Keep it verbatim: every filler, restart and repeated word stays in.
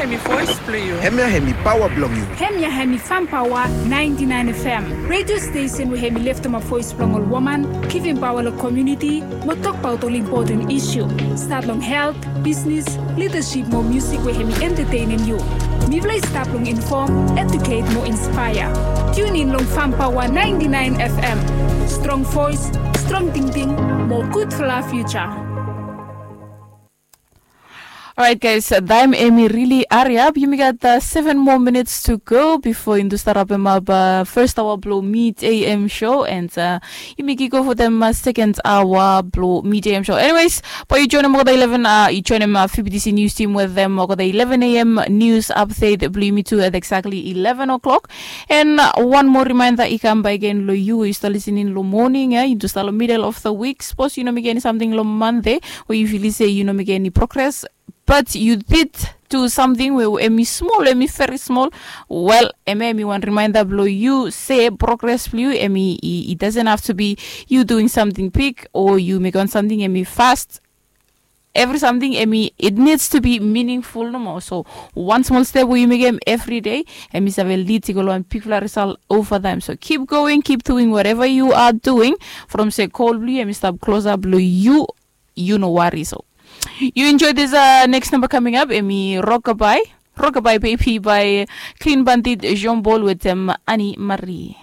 Hemi voice blong yu. Hemia hemi paoa blong yu. Hemia hemi Fam Paoa ninety nine F M, redio stesen we hemi leftemap voes blong ol woman, givim paoa long komuniti, mo tokbaot ol impoten isu. Stat long helt, bisnis, lidasip mo musik we hemi entetenem yu. Mifala i stap long infom, eduket mo inspaea. Tiunin long Fam Paoa ninety nine F M. Strong voes, strong tingting, mo gudfala fiuja. Orait guys, taem hemi rili hariap. Yumi gat seven more minutes to go bifo yumi tu stap rapemap fes aoa blong Mid A M show, and yumi kick off wetem seken aoa blong Mid A M show. Anyways, bae yu joenem olgeta eleven, yu joenem V B T C news team wetem olgeta eleven A M news update blong yumi tu at exactly eleven o'clock. And wan moa rimaenda i kam bakegen long yu we yu stap lisening long moning ya, yu tu stap long middle of the week. Sapos yu no mekem eni samting long Mande, we yu filim se yu no mekem eni progres, but yu did du samting we hemi smol, hemi veri smol, wel, hemia hemi wan rimaenda blong yu se progres blong yu hemi, i doesn't have to be yu duing samting big o yu mekem wan samting hemi fast. Evri samting hemi, it needs to be meaningful nomo. So wan smol step we yu mekem evri dei, hemi save lid i go long wan bigfala risal ova taem. So keep going, keep doing whatever you are doing. From se gol blong yu hemi stap klosap long yu, yu no wari. So yu enjoy this next number coming up, hemi Rockabye, Rockabye Baby by Clean Bandit, Jean Paul wetem Annie Marie.